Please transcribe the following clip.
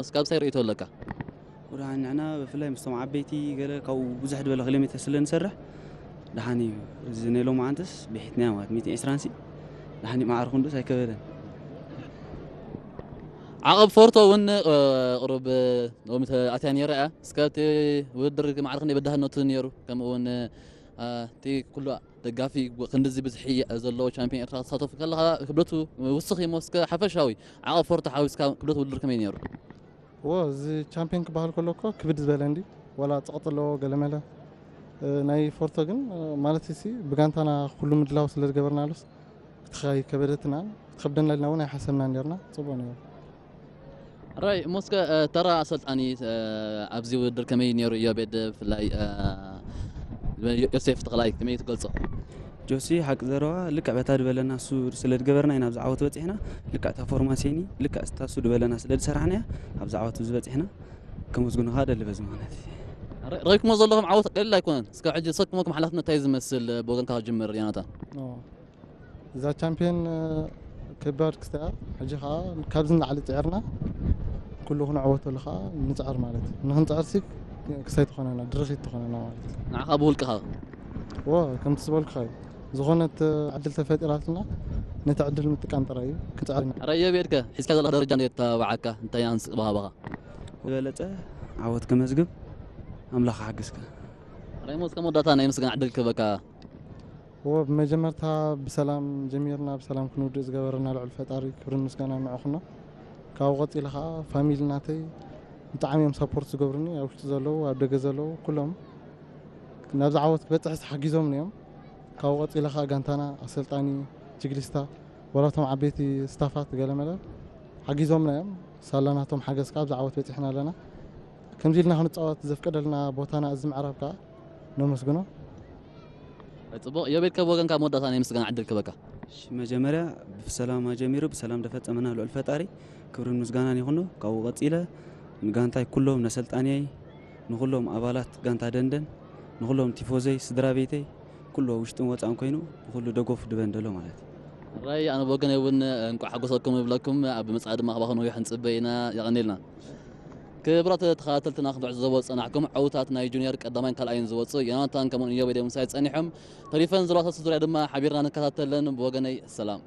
እስካብ ሳይ ርእይቶ ኣለካ? ወደ ንዕና ብፍላይ ምስቶም ዓበይቲ ገለ ካብኡ ብዙሕ ዝበለ ኪሎ ሜትር ስለ ንሰርሕ ደሓን እዩ። እዚ ናይ ሎማዓንትስ ብሒትናያ ማለት ሚእቲ ዕስራን ሲ ደሓን እዩ። ማዕረ ክንዱስ ኣይከበደን። ዓቐብ ፎርቶ እውን ቁሩብ ሎሚ ኣትያ ነይራ እያ። እስከ እቲ ውድድር ማዕረ ክንደይ በዳህነቱ ነይሩ? ከምኡ እውን እቲ ኩሉ ደጋፊ ክንድዚ ብዝሒ ዘለዎ ቻምፒዮን ኤርትራ ክትሳተፉ ከለኻ ክብደቱ ውስኽ እሞ እስከ ሓፈሻዊ ዓቐብ ፎርቶ ሓዊስካ ክብደት ውድድር ከመይ ነይሩ? እዎ እዚ ቻምፒዮን ክበሃል ከሎ እኮ ክብድ ዝበለ እንዲ ዋላ ጸቕጢ ኣለዎ ገለመለ። ናይ ፎርቶ ግን ማለት ሲ ብጋንታና ኩሉ ምድላው ስለ ዝገበርናሉስ ክትኸ ኣይከበደትናን ክትኸብደና ኢልና እውን ኣይሓሰብናን ነርና። ጽቡቕ ነይሩ። ራይ እሞ እስከ ተራ ኣሰልጣኒ ኣብዚ ውድድር ከመይ ነይሩ? እዮቤድ ብፍላይ ዮሴፍ ተኽላይ ከመይ ትገልጾ? ጆሲ ሓቂ ዘረባ ልክዕ በታ ዝበለና እሱ ስለ ዝገበርና ኢና ኣብዚ ዓወት በፂሕና። ልክዕ እታ ፎርማሴኒ ልክዕ እታ እሱ ዝበለና ስለ ዝሰራሕናያ ኣብዚ ዓወት እዚ በፂሕና። ከመስግኖ ከዓ ደሊ በዚ ማለት እዩ። ረኪሞ ዘለኹም ዓወት ቀሊል ኣይኮነን። እስከ ሕጂ ዝሰክመኩም ሓላፍነት እንታይ ዝመስል ብወገንካ ክጅምር ዮናታን? እዛ ቻምፒዮን ከባድ ክስተያ ሕጂ ከዓ ካብዚ ንላዕሊ ፅዕርና ኩሉ ክንዕወተሉ ከዓ ንፅዕር ማለት እዩ። ንክንፅዕር ሲ ክሳይ ትኾነና ድርኺት ትኾነና ማለት እዩ። ንዓኻ ብውልቅኻ ዎ ከምቲ ዝበልኩኻ እዩ። ዝኾነት ዕድል ተፈጢራትና ነቲ ዕድል ምጥቃም ጥራይ እዩ። ክፅዕር ኢና። ረዮ ቤድከ ሒዝካ ዘለካ ደረጃ እንዴት ተባዓካ እንታይ ኣንስእ ባህባኻ? ዝበለፀ ዓወት ከመዝግብ ኣምላኽ ሓግዝካ። ራይሞ እስከ መወዳእታ ናይ ምስጋና ዕድል ክህበካ። እዎ ብመጀመርታ ብሰላም ጀሚርና ብሰላም ክንውድእ ዝገበረና ልዑል ፈጣሪ ክብርን ምስጋና ንዕኹኖ። ካብኡ ቀፂለ ከዓ ፋሚሊ ናተይ ብጣዕሚ እዮም ሳፖርት ዝገብሩኒ ኣብ ውሽጢ ዘለዉ ኣብ ደገ ዘለዉ ኩሎም ናብዚ ዓወት ክበፅሕስ ሓጊዞምኒ እዮም። ካብኡ ቀፂለ ከዓ ጋንታና ኣሰልጣኒ ጅግሊስታ ወላቶም ዓበይቲ ስታፋት ገለመለ ሓጊዞምና እዮም። ሳላ ናቶም ሓገዝ ከዓ ኣብዚ ዓወት በፂሕና ኣለና። ከምዚ ኢልና ክንፃወት ዘፍቀደልና ቦታና እዚ ምዕራብ ከዓ ነመስግኖ። ጽቡቕ ዮቤድ ካብ ወገንካ መወዳእታ ናይ ምስጋና ዕድል ክበካ። መጀመርያ ብሰላም ጀሚሩ ብሰላም ደፈጸመና ልዑል ፈጣሪ ክብርን ምስጋናን ይኹኖ። ካብኡ ቀጺለ ንጋንታይ ኩሎም ነሰልጣንየይ ንኹሎም ኣባላት ጋንታ ደንደን ንኹሎም ቲፎዘይ ስድራ ቤተይ ኩሉ ውሽጥን ወጻእን ኮይኑ ንኹሉ ደገፉ ድበን ደሎ ማለት እዩ። ራይ ኣነ ብወገነይ እውን እንቋዕ ሓጎሰኩም ይብለኩም። ኣብ መጻኢ ድማ ካባኹም ነዊሕ ንጽበ ኢና። የቐንየልና። ክብራት ተኸታተልትና ክንትዕዘቦ ዝጸናሕኩም ዕውታት ናይ ጁኒየር ቀዳማይን ካልኣይን ዝወጹ ዮናታን ከምኡን ኢዮቤድ ምሳይ ጸኒሖም። ተሪፈን ዘለዋ ሰለስተ ዙርያ ድማ ሓቢርና ንከታተለን። ብወገነይ ሰላም።